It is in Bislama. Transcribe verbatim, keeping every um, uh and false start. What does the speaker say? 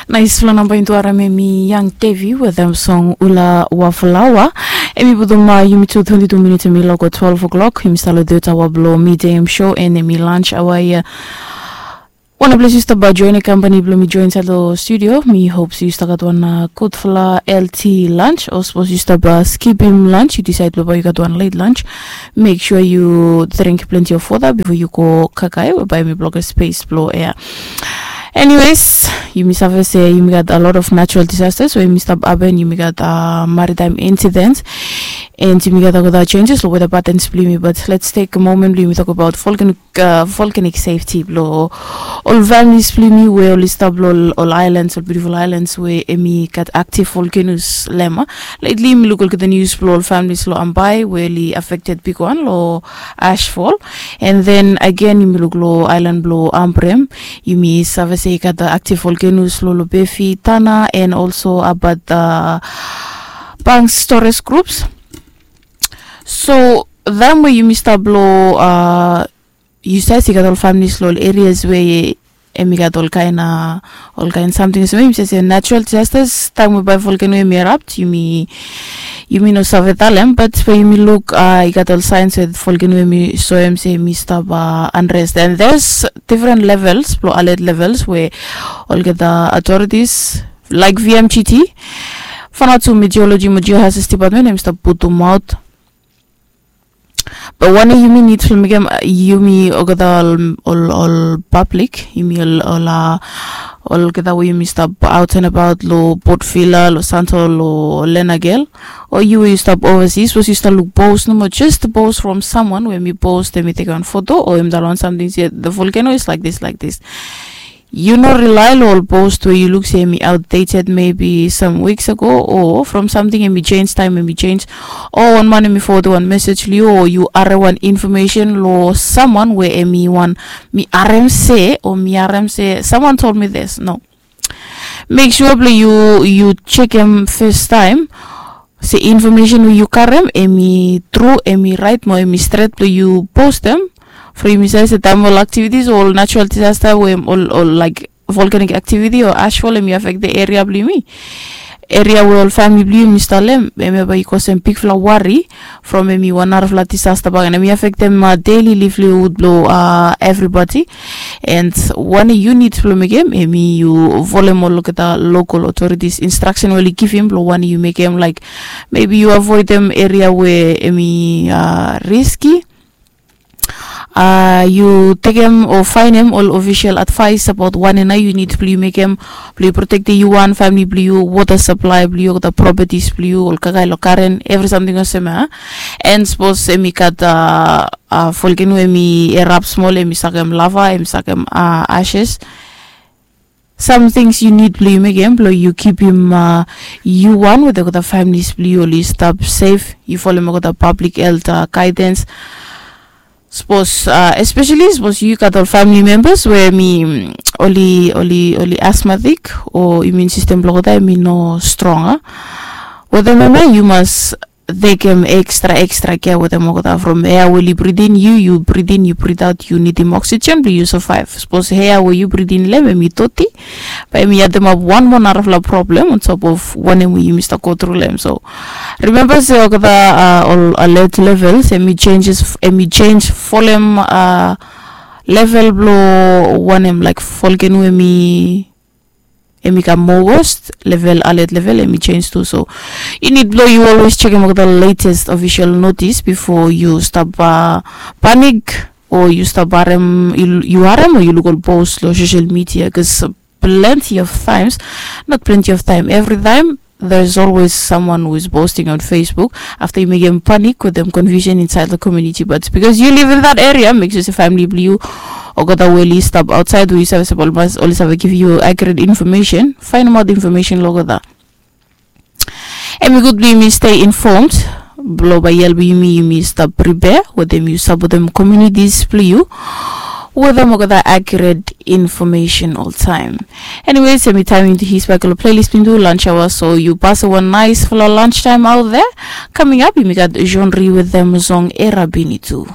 Naisfala namba intu arem em i Young Tevi wetem song Ula Waflawa. Em i putum yumi tu twenti tu minits em i loko twelve o'clock. Yumi stap lo third hour blo midei em show and em i lunch hour ia. Wan ples yu stap join kampani blo mi join insait lo studio. Mi hope se yu stap gat wan gudfala healthy lunch o sapos yu stap skipim lunch, yu decide blo bae yu gat wan late lunch, make sure yu drink plenty of water before yu go kakae we bae mi blok space blo air. Anyways, yumi save se yumi gat a lot of natural disasters we yumi stap happen, yumi gat uh, maritime incidents, and yumi gat olgeta changes lo weather patterns blo yumi. But let's take a moment blo yumi talk about volcanic uh, volcanic safety blo ol families blo yumi we oli stap lo ol, ol islands, ol beautiful islands we em i gat active volcanoes lem. Lately mi luk olgeta news blo ol families lo Ambae we oli affected bigwan lo ashfall. And then again yumi luk lo island blo Ambrym, yumi save se i gat active volcanoes lo Lobefi, Tanna, and also about the banks tourist groups. So them we yumi stap lo uh, yu save se i gat ol families lo ol areas we em i gat ol kaen uh, ol kaen samting olsem, yumi save se natural disasters, taem we bae volcano em i erupt, yumi yumi no save talem, but we yumi luk uh, i gat ol signs we volcano em i soem se em i stap uh, unrest. And there's different levels blo alert levels we olgeta authorities like V M G T, Vanuatu Meteorology mo Geohazards Department em i stap putumaot. Be wanem yumi nid blo mekem, yumi olgeta ol, ol, ol public, yumi ol, ol, uh, olgeta we yumi stap out and about lo Port Vila, lo Santo, lo Lenagel, o yu we yu stap overseas, sapos yu stap luk post nomo, just post from someone we em i post, em i tekem wan foto o em i talem wan samting se the volcano is like this, like this. Yu no rely lo ol post we yu luk se em i outdated maybe some weeks ago, o from samting em i change, taem em i change, o wan man em i forward wan message lo yu, o yu harem wan information lo someone we em i wan, mi harem se, o mi harem se someone told me this. No. Make sure blo yu, yu jekem fastaem se information we yu karem em i tru, em i raet mo em i stret blo yu postem. From yumi save se taem ol activities o ol natural disaster we ol, ol like volcanic activity o ashfall em i affect the area blo yumi, area we ol famili blo yumi stap lo hem, hemia bae i kosem bigfala wari from em i wan narafala disaster bakegen, em i affectem uh, daily livelihood blo uh, everybody. And wanem yu nid blo mekem, em i yu folem olgeta local authorities instruction we oli givim blo wanem yu mekem, like maybe yu avoidem area we em i uh, risky. Uh, yu tekem o faenem ol official advice abaot wanem nao yu nid blo yu mekem blo yu protektem yu wan, famili blo yu, water supply blo yu, olgeta properties blo yu, ol kakae lo garen, evri samting olsem ia. And sapos em i gat uh, uh, volcano em i erupt smol, em i sakem lava, em i sakem uh, ashes. Some things yu nid blo yu mekem blo yu kipim uh, yu wan wetem olgeta families blo yu oli stap safe, yu folem olgeta public health uh, guidance. Sapos uh, especially sapos yu gat ol family members we em i mm, oli, oli, oli asthmatic o immune system blo olgeta em i no strong, a? Wetem hemia yu mas tekem extra, extra care wetem olgeta from air we oli breathe in, yu, yu breathe in, yu breathe out, yu nidim oxygen blo yu survive. Sapos air we yu breathe in lo hem em i doti, bae em i ademap wan moa narafala problem on top of wanem we yumi stap go tru lo hem. So remember se olgeta uh, ol alert levels em i changes, em i change folem uh, level blo wanem, like volcano em i em i kam moa worst, level, alert level em i change tu. So yu nid blo yu always jekem olgeta latest official notice before yu stap uh, panic o yu stap harem, yu, yu harem o yu luk ol post lo social media, bikos plenty of times, not plenty of time, every time there's always someone who is posting on Facebook after yu mekem panic wetem confusion inside the community. But because you live in that area, make sure se family blo yu, olgeta we oli stap outside we yu save sapos oli save give you accurate information, faenemaot information lo olgeta. Em i gud blo yumi stay informed blo bae i helpem yumi, yumi stap prepare wetem yu sapotem communities blo yu wetem olgeta accurate information oltaem. Anyways, em i taem yumi tu hisbak lo playlist blo yumi tu lunch hour, so yu pasem wan naesfala lunch time out there. Coming up yumi gat Jean Ri wetem song Era Bini tu.